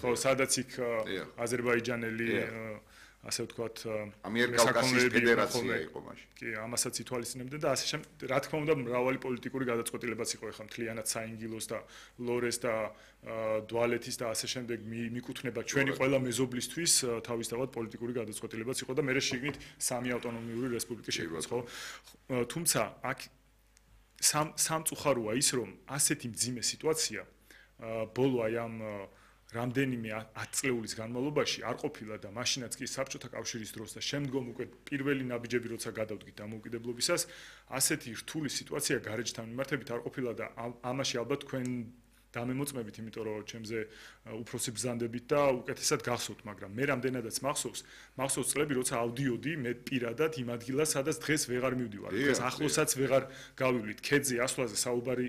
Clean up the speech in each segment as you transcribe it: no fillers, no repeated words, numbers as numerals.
ხო, სადაც იქ აზერბაიჯანელი ასე ვთქვათ, ამიერკავკასიის ფედერაცია იყო მაშინ. კი, ამასაც ითვალისწინებდნენ და ასე შემდეგ. Რა თქმა უნდა, მრავალი პოლიტიკური გადაწყვეტილებაც იყო ეხლა მთლიანად საინგილოს და ლორეს და დვალეთის და ასე შემდეგ მიკუთვნება ჩვენი ყველა მეზობლისთვის თავისთავად პოლიტიკური გადაწყვეტილებაც იყო და მე შეგნით სამი ავტონომიური რესპუბლიკა შეიქმნა, ხო? თუმცა აქ სამწუხაროა ის, რომ ასეთი მძიმე სიტუაცია ბოლო აი ამ რამდენიმე 10 წლეულის განმავლობაში არ ყოფილა და მაშინაც კი საბჭოთა კავშირის დროს და შემდგომ უკვე პირველი ნაბიჯები როცა გადავდგით დამოუკიდებლობისას, ასეთი რთული სიტუაცია გარეჯთან მიმართებით არ ყოფილა და ამაში ალბათ თქვენ დამემოწმებით, იმიტომ რომ ჩემზე უფროსი ბრძანდებით და უკეთესად გახსოვთ, მაგრამ მე რამდენადაც მახსოვს წლები, როცა ავდიოდი მე პირადად იმ ადგილას, სადაც დღეს ვეღარ მივდივარ. დღეს ახლოსაც ვეღარ გავივლით. ქედზე ასვლაზე საუბარი,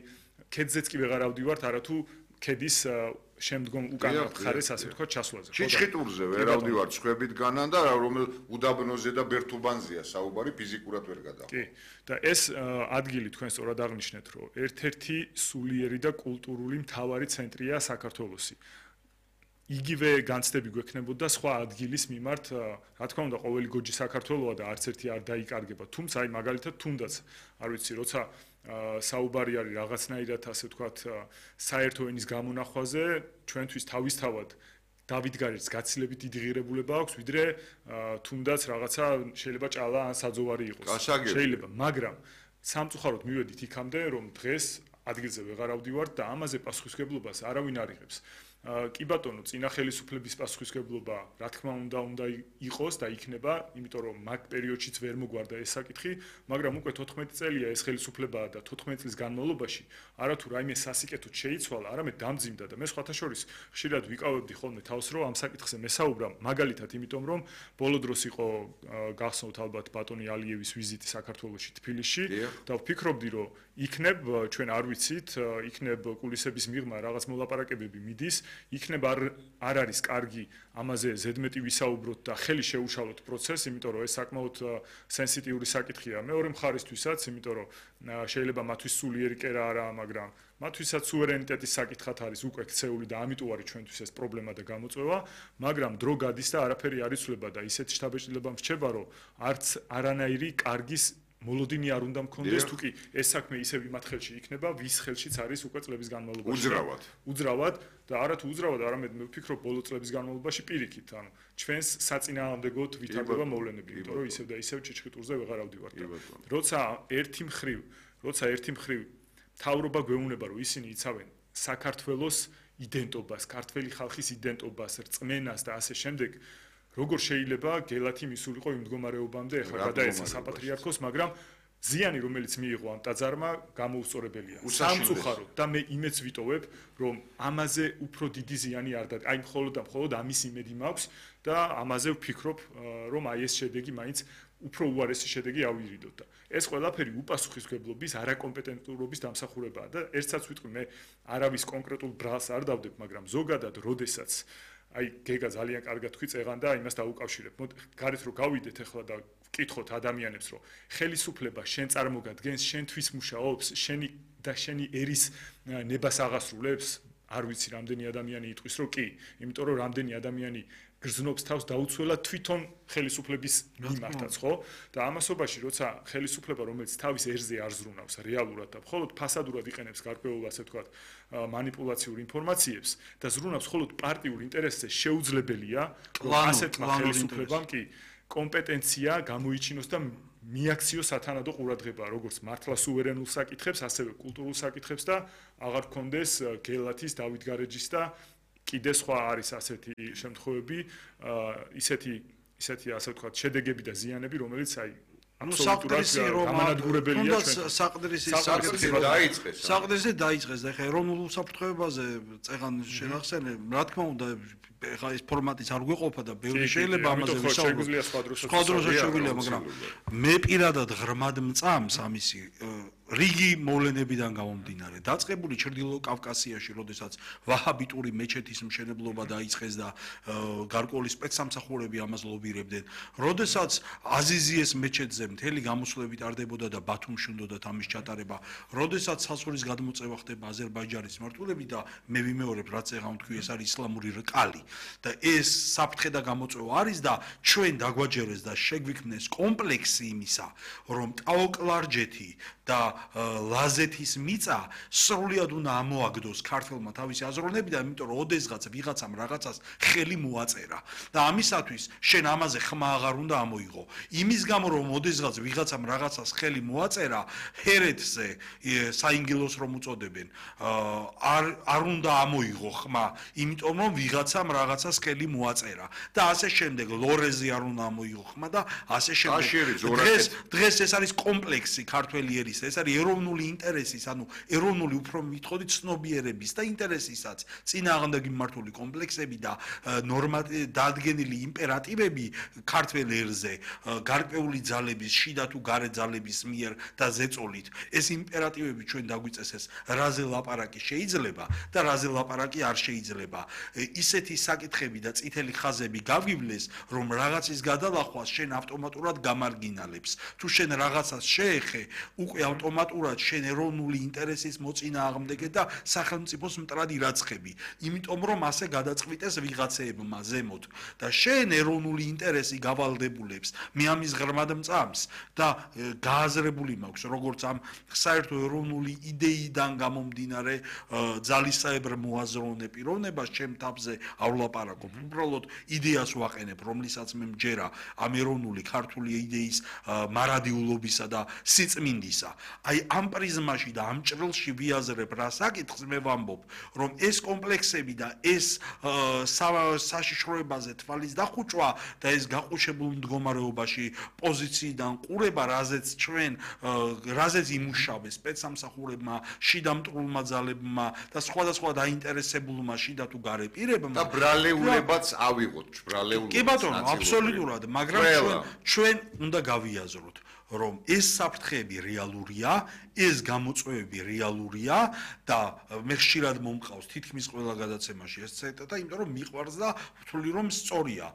ქედზეც კი ვეღარ ავდივართ, არათუ ქედის შემდგომ უკანა მხარეს ასე ვთქვათ ჩასვლაზე. ჩიჩხიტურზე ვერ ავდივართ სხვებით განან და რომელ უდაბნოზე და ბერთუბანზეა საუბარი ფიზიკურად ვერ გადავა. კი, და ეს ადგილი თქვენ სწორად აღნიშნეთ, რომ ერთ-ერთი სულიერი და კულტურული მთავარი ცენტრია საქართველოსი. იგივე განცდები გვექნებოდა სხვა ადგილის მიმართ, რა თქმა უნდა, ყოველი გოჯი საქართველოა და არც ერთი არ დაიკარგება. თუმცა აი მაგალითად თუნდაც, არ ვიცი, როცა საუბარი არის რაღაცნაირად ასე ვთქვათ საერთო ენის გამონახვაზე, ჩვენთვის თავისთავად დავითგარეჯს გაცილებით დიდი ღირებულება აქვს, ვიდრე თუნდაც რაღაცა შეიძლება ჭალა ან საძოვარი იყოს. შეიძლება, მაგრამ სამწუხაროდ მივედით იქამდე, რომ დღეს ადგილზე ვეღარ ავდივართ და ამაზე პასუხისმგებლობას არავინ არ იღებს. კი ბატონო, წინა ხელისუფლების პასუხისმგებლობა, რა თქმა უნდა იყოს და იქნება, იმიტომ რომ მაგ პერიოდშიც ვერ მოგვარდა ეს საკითხი, მაგრამ უკვე 14 წელია ეს ხელისუფლებაა და 14 წლის განმავლობაში არათუ რაიმე სასიკეთოდ შეიცვალა, არამედ დამძიმდა და მე სხვათა შორის ხშირად ვიკავებდი ხოლმე თავს, რომ ამ საკითხზე მესაუბრა, მაგალითად, იმიტომ რომ ბოლო დროს იყო გახსოვთ ალბათ ბატონი ალიევის ვიზიტი საქართველოში თბილისში და ვფიქრობდი, რომ იქნებ ჩვენ არ ვიცით, იქნებ კულისების მიღმა რაღაც მოლაპარაკებები მიდის, იქნებ არ არის კარგი ამაზე ზედმეტი ვისაუბროთ და ხელი შეუშალოთ პროცესს, იმიტომ რომ ეს საკმაოდ სენსიტიური საკითხია მეორე მხარისთვისაც, იმიტომ რომ შეიძლება მათთვის სულიერი კერა არაა, მაგრამ მათთვისაც სუვერენიტეტის საკითხად არის უკვე ქცეული და ამიტომ არის ჩვენთვის ეს პრობლემა და გამოწვევა, მაგრამ დრო გადის და არაფერი არ იცვლება და ისეთი შთაბეჭდილება მრჩება, რომ არც არანაირი კარგის მოლოდინი არ უნდა მქონდეს, თუკი ეს საქმე ისევ იმათ ხელში იქნება, ვის ხელშიც არის უკვე წლების განმავლობაში. უძრავად და არათუ უძრავად, არამედ მე ვფიქრობ ბოლო წლების განმავლობაში პირიქით, ანუ ჩვენს საწინააღმდეგოდ ვითარდება მოვლენები, იმიტომ რომ ისევ და ისევ ჩიჩხიტურზე ვეღარ ავდივართ. როცა ერთი მხრივ მთავრობა გვეუბნება, რომ ისინი იცავენ საქართველოს იდენტობას, ქართველი ხალხის იდენტობას, რწმენას და ასე შემდეგ, როგორ შეიძლება გელათი მისულიყო იმ მდგომარეობამდე, ეხლა გადაეცა საპატრიარქოს, მაგრამ ზიანი, რომელიც მიიღო ამ ტაძარმა, გამოუსწორებელია. სამწუხაროდ და მე იმეც ვიტოვებ, რომ ამაზე უფრო დიდი ზიანი არ დადგა. აი მხოლოდ ამის იმედი მაქვს და ამაზე ვფიქრობ, რომ აი ეს შედეგი მაინც უფრო უარესი შედეგი ავირიდოთ და ეს ყველაფერი უპასუხისმგებლობის, არაკომპეტენტურობის დამსახურებაა და ერთსაც ვიტყვი, მე არავის კონკრეტულ ბრალს არ დავდებ, მაგრამ ზოგადად, როდესაც აი გეგა ძალიან კარგად თქვი წეღან და იმას დაუკავშირებ. გარეთ რო გავიდეთ ახლა და ვკითხოთ ადამიანებს, რომ ხელისუფლება შენ წარმოგადგენს, შენთვის მუშაობს, შენი ერის ნებას აღასრულებს, არ ვიცი რამდენი ადამიანი იტყვის, რომ კი, იმიტომ რომ რამდენი ადამიანი გრძნობს თავს დაუცველად თვითონ ხელისუფლების მიმართაც, ხო? და ამასობაში, როცა ხელისუფლება, რომელიც თავის ერზე არ ზრუნავს რეალურად და მხოლოდ ფასადურად იყენებს გარკვეულ, ასე ვთქვათ, манипуляციურ ინფორმაციებს და ზრუნავს მხოლოდ პარტიულ ინტერესზე, შეუძლებელია, რომ ასეთმა ხელისუფლებამ კი კომპეტენცია გამოიჩინოს და მიაქციოს სათანადო ყურადღება, როგორც მართლა სუვერენულ საკითხებს, ასევე კულტურულ საკითხებს და აღარ გქონდეს გელათის, დავითგარეჯის და კიდე სხვა არის ასეთი შემთხვევები, ისეთი ასე ვთქვათ, შედეგები და ზიანები, რომელიც აი გამანადგურებელია ჩვენ. საყდრისი დაიწყეს და ეხლა ეროვნულ უსაფრთხოებაზე წეღან შენახსენე, რა თქმა უნდა, ეხლა ეს ფორმატიც არ გვეყოფა და ბევრი შეიძლება ამაზე ვისაუბროთ. სხვა დროსაც შეგვიძლია, მაგრამ მე პირადად ღრმად მწამს ამისი რიგი მოვლენებიდან გამომდინარე დაწყებული ჩრდილო კავკასიაში, როდესაც ვაჰაბიტური მეჩეთის მშენებლობა დაიწყეს და გარკვეული სპეცსამსახურები ამას ლობირებდნენ, როდესაც აზიზიეს მეჩეთზე მთელი გამოსვლები ტარდებოდა და ბათუმში უნდათ ამის ჩატარება, როდესაც სასულის გადმოწევა ხდება აზერბაიჯანის მმართველობით და მე ვიმეორებ, რაც ეხლა თქვი, ეს არის ისლამური რკალი და ეს საფრთხე და გამოწვევა არის და ჩვენ დაგვაჯერეს და შეგვიქმნეს კომპლექსი იმისა, რომ ტაოკლარჯეთი და ლაზეთის მიწა სრულად უნდა ამოაგდოს ქართველმა თავისი აზროვნებიდან, იმიტომ რომ ოდესღაც ვიღაცამ რაღაცას ხელი მოაწერა და ამისათვის შენ ამაზე ხმა აღარ უნდა ამოიღო. იმის გამო რომ ოდესღაც ვიღაცამ რაღაცას ხელი მოაწერა, ჰერეთზე საინგილოს რომ უწოდებენ, არ უნდა ამოიღო ხმა, იმიტომ რომ ვიღაცამ რაღაცას ხელი მოაწერა და ასე შემდეგ ლორეზე არ უნდა ამოიღო ხმა და ასე შემდეგ. დღეს ეს არის კომპლექსი ქართველი ერის, ეს არის ეროვნული ინტერესის, ანუ ეროვნული უფრო მითხოვდით ცნობიერების და ინტერესისაც წინააღმდეგი მმართველი კომპლექსები და დადგენილი იმპერატივები ქართველ ერზე გარკვეული ძალების, შიდა თუ გარე ძალების მიერ და ზეწოლით. ეს იმპერატივები ჩვენ დაგვიწესეს, რაზე ლაპარაკი შეიძლება და რაზე ლაპარაკი არ შეიძლება. ისეთი საკითხები და წითელი ხაზები გავივლეს, რომ რაღაცის გადალახვას შენ ავტომატურად გამარგინალებს. თუ შენ რაღაცას შეეხე, უკვე ავტომატურად შენ ეროვნული ინტერესის მოწინააღმდეგე და სახელმწიფოს მტრად ირაცხები, იმიტომ რომ ასე გადაწყვიტეს ვიღაცეებმა ზემოთ და შენ ეროვნული ინტერესი გავალდებულებს მე ამის ღრმად მწამს და გააზრებული მაქვს, როგორც ამ საერთო ეროვნული იდეიდან გამომდინარე ძალისაებრ მოაზროვნე პიროვნებას ჩემ თავზეავლაპარაკობ. უბრალოდ იდეას ვაყენებ, რომლისაც მე მჯერა ამ ეროვნული ქართული იდეის მარადიულობისა და სიწმინდისა. აი ამ პრიზმაში და ამ ჭრილში ვიაზრებ რა საკითხს მე ვამბობ, რომ ეს კომპლექსები და ეს საშიშროებაზე თვალის დახუჭვა და ეს გაყუჩებულ მდგომარეობაში პოზიციიდან ყურება, რაზეც იმუშავეს სპეცსამსახურებმა, შიდა მტრულმა ძალებმა და სხვადასხვა დაინტერესებულმა შიდა თუ გარე პირებმა და ბრალეულებაც ავიღოთ, ბრალეულობა. კი ბატონო, აბსოლუტურად, მაგრამ ჩვენ უნდა გავიაზროთ, რომ ეს საფრთხეები რეალურია, ეს გამოწვევები რეალურია და მე ხშირად მომყავს თითქმის ყველა გადაცემაში ეს ციტატა, იმიტომ რომ მიყვარს და ვთვლი რომ სწორია.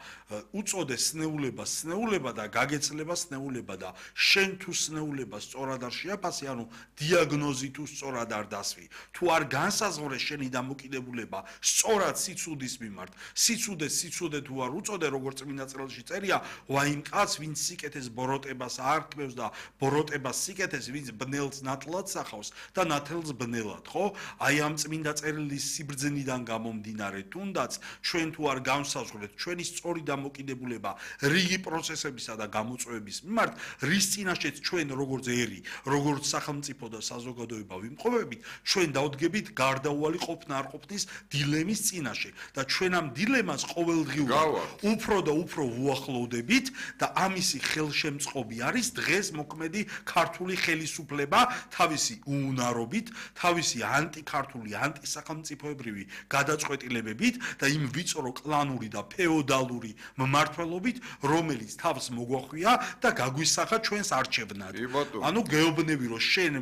უწოდე სნეულება სნეულება და გაგეცლება სნეულება და შენ თუ სნეულება სწორად არ შეაფასე, ანუ დიაგნოზი თუ სწორად არ დასვი. თუ არ განსაზღვრე შენი დამოკიდებულება სწორად სიცუდის მიმართ, სიცუდე თუ არ უწოდე, როგორც წმინდა წერილში წერია, ვაიმ კაც ვინც სიკეთეს ბოროტებას აარქმევს და ბოროტებას სიკეთეს, ვინც ბნელს ნათლად სახავს და ნათელს ბნელად, ხო? აი ამ წმინდა წერილის სიბრძნიდან გამომდინარე, თუნდაც ჩვენ თუ არ განსაზღვრეთ ჩვენი სწორი დამოკიდებულება რიგი პროცესებისა და გამოწვევების მიმართ, რის წინაშეც ჩვენ როგორც ერი, როგორც სახელმწიფო და საზოგადოება ვიმყოფებით, ჩვენ დავდგებით გარდაუვალი ყოფნა არ ყოფნის დილემის წინაშე და ჩვენ ამ დილემას ყოველდღიურად უფრო და უფრო ვუახლოვდებით და ამისი ხელშემწყობი არის დღეს მოქმედი ქართული ხელისუფლება თავისი უუნარობით, თავისი ანტიქართული, ანტისახელმწიფოებრივი გადაწყვეტილებებით და იმ ვიწრო კლანური და ფეოდალური მმართველობით, რომელიც თავს მოგვახვია და გაგვისახა ჩვენს არჩევნად. ანუ გეუბნები, რომ შენ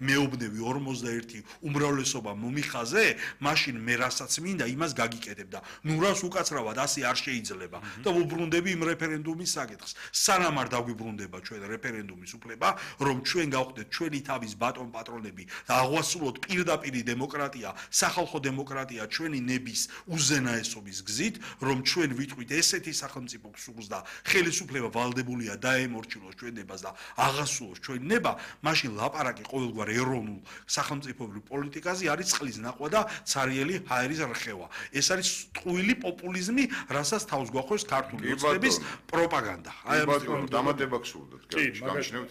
მეუბნები 51 უმრავლესობა მომიხაზე, მაშინ მე რასაც მინდა იმას გაგიკეთებ და ნუ რას უკაცრავად ასე არ შეიძლება და ვუბრუნდები იმ რეფერენდუმის საკითხს. სანამ არ დაგვიბრუნდება ჩვენ რეფერენდუმის უფლება, რომ ჩვენ გავხდეთ ჩვენი თავის ბატონ პატრონები და აღვასრულოთ პირდაპირი დემოკრატია, სახალხო დემოკრატია ჩვენი ნების უზენაესობის გზით, რომ ჩვენ ვიტყვით ესეთი სახელმწიფო სულს და ხელისუფლება ვალდებულია დაემორჩილოს ჩვენ ნებას და აღასრულოს ჩვენ ნება, მაშინ ლაპარაკი ყოველგვარ ეროვნულ სახელმწიფოებრივ პოლიტიკაზე არის წყლის ნახვა და ცარიელი ჰაერის რხევა. ეს არის ტყუილი პოპულიზმი, რასაც თავს გვახვევს ქართული ოცნების პროპაგანდა. აი ბატონო, დამატება გსურდათ, გამჩნევთ?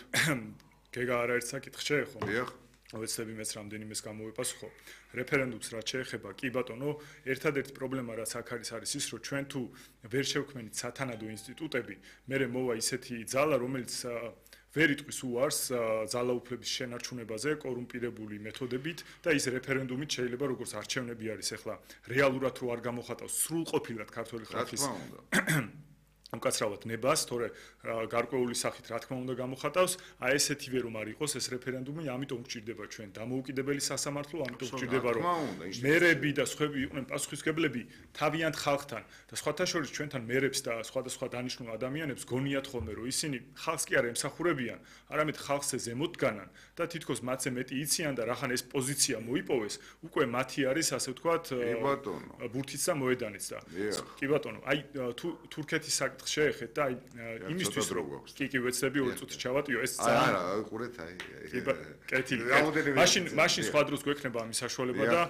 გეგა არაერთ საკითხს შეეხო. დიახ. ვეცდები მეც რამდენიმეს გამოვეპასუხო. რეფერენდუმს რაც შეეხება, კი ბატონო, ერთადერთი პრობლემა რაც აქ არის ის, რომ ჩვენ თუ ვერ შევქმნით სათანადო ინსტიტუტები, მერე მოვა ისეთი ძალა, რომელიც ვერ იტყვის უარს ძალაუფლების შენარჩუნებაზე კორუმპირებული მეთოდებით და ის რეფერენდუმით შეიძლება როგორც არჩევნები არის ახლა რეალურად რო არ გამოხატავს სრულყოფილად ქართული ხალხის უკაცრავად ნებას, თორე გარკვეული სახით რა თქმა უნდა გამოხატავს, აი ესეთივე რომ არ იყოს ეს რეფერენდუმი, ამიტომ გჭირდება ჩვენ დამოუკიდებელი სასამართლო, ამიტომ გჭირდება რომ მერები და სხვები იყვნენ პასუხისმგებლები თავიანთ ხალხთან და სხვათა შორის ჩვენთან მერებს და სხვადასხვა დანიშნულ ადამიანებს გონიათ ხოლმე რომ ისინი ხალხს კი არ ემსახურებიან, არამედ ხალხზე ზემოთ დგანან და თითქოს მათზე მეტი იციან და რახან ეს პოზიცია მოიპოვეს, უკვე მათი არის ასე ვთქვათ ბურთიც და მოედანიც და კი ბატონო, აი თურქეთის შეეხეთ და აი იმისთვის რომ კი ვეცდები 2 წუთი ჩავატიო ეს არა ყურეთ აი მაშინ სხვა დროს გვექნება ამის საშუალება და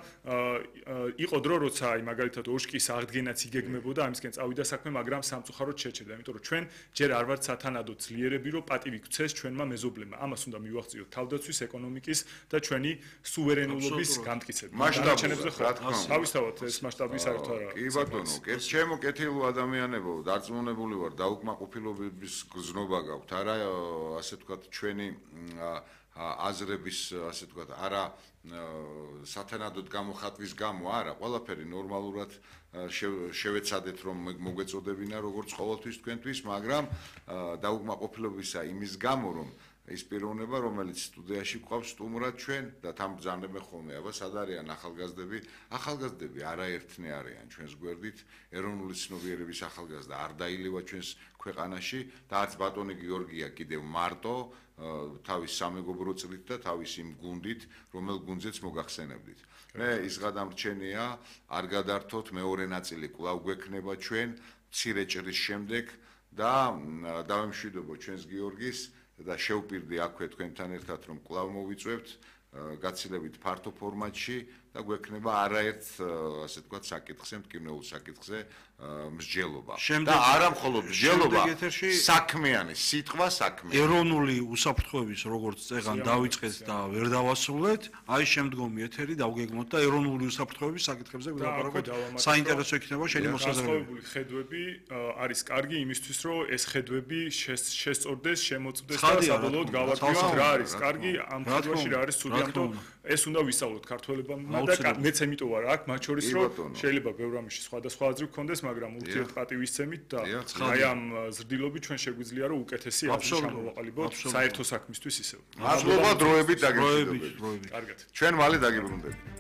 იყო დრო როცა აი მაგალითად ოშკის აღდგენაც იგეგმებოდა ამისკენ წავიდა საქმე მაგრამ სამწუხაროდ შეჩერდა იმიტომ რომ ჩვენ ჯერ არ ვართ სათანადო ძლიერები რომ პატივი გვცეს ჩვენმა მეზობლებმა ამას უნდა მივახციოთ თავდაცვის ეკონომიკის და ჩვენი სუვერენულობის გამტკიცება მასშტაბზე ხო თავისთავად ეს მასშტაბი საერთო არა კი ბატონო ჩემო კეთილო ადამიანებო დარწმუნებული ვარ დაუკმაყოფილების გზნობა გაქვთ არა ასე ვთქვათ ჩვენი აზრების ასე ვთქვათ არა სათანადოდ გამოხატვის გამო არა ყველაფერი ნორმალურად შევეცადეთ რომ მოგვეწოდებინა როგორც ყოველთვის თქვენთვის მაგრამ დაუკმაყოფილებისა იმის გამო რომ ის პიროვნება რომელიც სტუდიაში გვყავს სტუმრად ჩვენ და თან ბრძანებენ ხოლმე აბა სად არიან ახალგაზრდები არაერთნი არიან ჩვენს გვერდით ეროვნული ცნობიერების ახალგაზრდა არ დაილევა ჩვენს ქვეყანაში და არც ბატონი გიორგია კიდევ მარტო თავის სამეგობრო წრით და თავის იმ გუნდით რომელ გუნდზეც მოგახსენებდით მე ის გადამრჩენია არ გადართოთ მეორე ნაწილი კვლავ გვექნება ჩვენ მცირე ჭრის შემდეგ და დავემშვიდობო ჩვენს გიორგის და შევპირდი აქვე თქვენთან ერთად რომ კვლავ მოვიწვევთ გაცილებით ფართო ფორმატში და გვექნება არაერთ ასე ვთქვათ საკითხზე, მტკივნეულ საკითხზე მსჯელობა. და არა მხოლოდ მსჯელობა, საქმიანი, სიტყვა საქმიანი. ეროვნული უსაფრთხოების როგორც წეგან დავიწყეთ და ვერ დავასრულეთ, აი შემდგომი ეთერი დავგეგმოთ და ეროვნული უსაფრთხოების საკითხებზე ვილაპარაკოთ. საინტერესო იქნება შენი მოსაზრებები. ხედვები არის კარგი იმისთვის, რომ ეს ხედვები შესწორდეს, შემოწმდეს და საბოლოოდ გავარკვიოთ რა არის კარგი ამ ხედვაში რა არის ცუდი, ამიტომ ეს უნდა ვისწავლოთ ქართველებმა და მეც ემიტომ ვარ აქ მათ შორის რომ შეიძლება ბევრ ამაში სხვადასხვა აზრი გქონდეს მაგრამ ურთიერთპატივისცემით და აი ამ ზრდილობით ჩვენ შეგვიძლია რომ უკეთესი აზრი ჩამოვაყალიბოთ საერთო საქმისთვის ისევ მადლობა დროებით დაგემშვიდობებით კარგად ჩვენ მალე დაგიბრუნდებით